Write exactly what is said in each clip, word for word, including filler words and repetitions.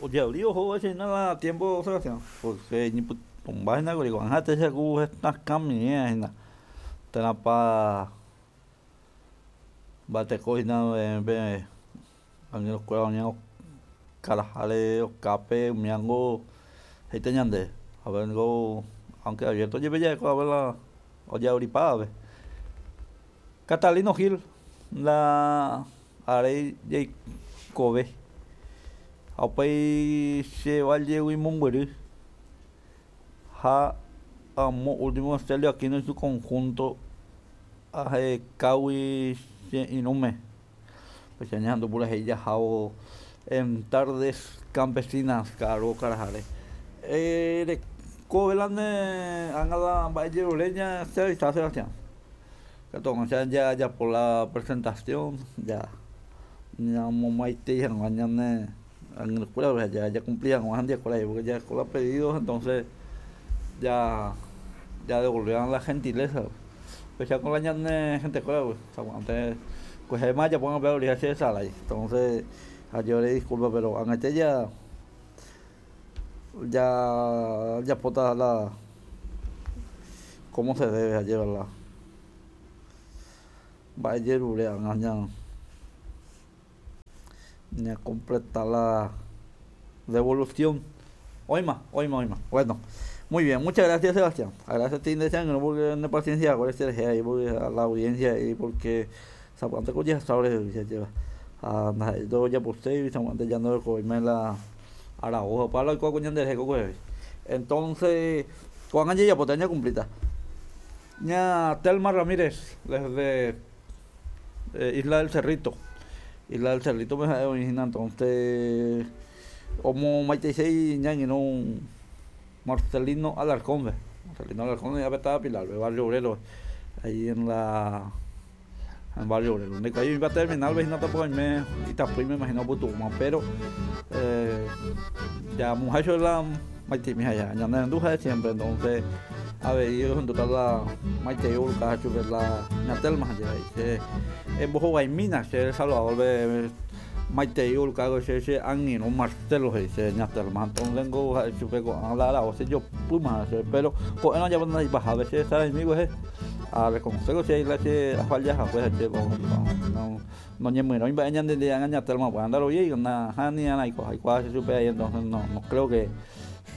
Ojeavri ohóvo hína la tiempo, Sebastián, porque ñepytũmba hína kuri ko'ág̃a techaku hetãkamiẽ hína térãpa mba'eteko hína pe angirũkuéra oñe okaraháre okápe umíango he'íta ñande haguéngo aunque abierto jepe ja'ekuaave la ojeavripávape. Catalino Gil la aréi jaikove ha upéi che vallegui mombyry ha amo último Celio Aquino y su conjunto ahekágui che irũme péicha ñahendu purahéi jahávo en tardes campesinas ka'aru okaraháre. Erekove la ne ág̃a la mba'ejerure ña cheavisa Sebastián katu ag̃ua jajapo la presentación ja ñamomaitei hag̃ua ñane angirũkuérape ha jacumpli hag̃ua hendiekuéra porque jareko la pedido, entonces ya ya devolver la gentileza péicha con la ñane gentekuéra sapy'ánte kuehéma ajapo pe che hesarái, entonces ajerure disculpa, pero ag̃aite ja ya jajapóta la como se debe ajéva la mba'ejerure ág̃a ña ñacompleta la devolución. Oĩma, oĩma, oĩma. Bueno, muy bien, muchas gracias, Sebastián. Gracias a ti nde che angirũ porque ne paciencia cherehe ahí porque a la audiencia ahí porque sapy'ánte ko jehasa ore ajéva ha ndaha'éi ndojaposéi sapy'ánte ya ndorekovéima la aravo opa la oikóva ko ñanderehe kokuehe. Entonces ko'ág̃a jajapóta ñacumplíta. Ña Telma Ramírez desde eh, Isla del Cerrito. Isla del Cerrito me ha'e oĩ hína, entonces omomaiteisei ñañirũ Marcelino Alarcón. Marcelino Alarcón ya estaba Pilar, Barrio Obrero, ahí en la en Barrio Obrero. Donde ahí iba a terminar, vecino tampoco me y tampoco me imagino putuma, pero eh, ya muchacho la maitei mija ya, ñane renduja siempre, entonces a ver, junto a la maitei urka la ña Telma ya che embohovaimína che El Salvador be maitei urka che che angirũ Marcelo he'i che ña Telma, entonces ngo ha'e chupe ko'ág̃a la aravo che jopýma che, pero ko'ẽrõ japóta ipahápe che hesaraimi kuehe a reconocer che la che afalla hague che no noñemyrõi mba'e ñande ág̃a ña Telma pues andaroviái nahániri aikuaa che chupe ahí, entonces no no creo que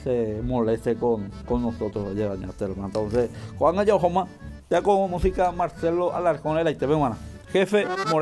se moleste con, con nosotros lleva ña Telma. Entonces ko'ág̃a jahóma ya con música Marcelo Alarcón eraiteve g̃uarã jefe Moreno.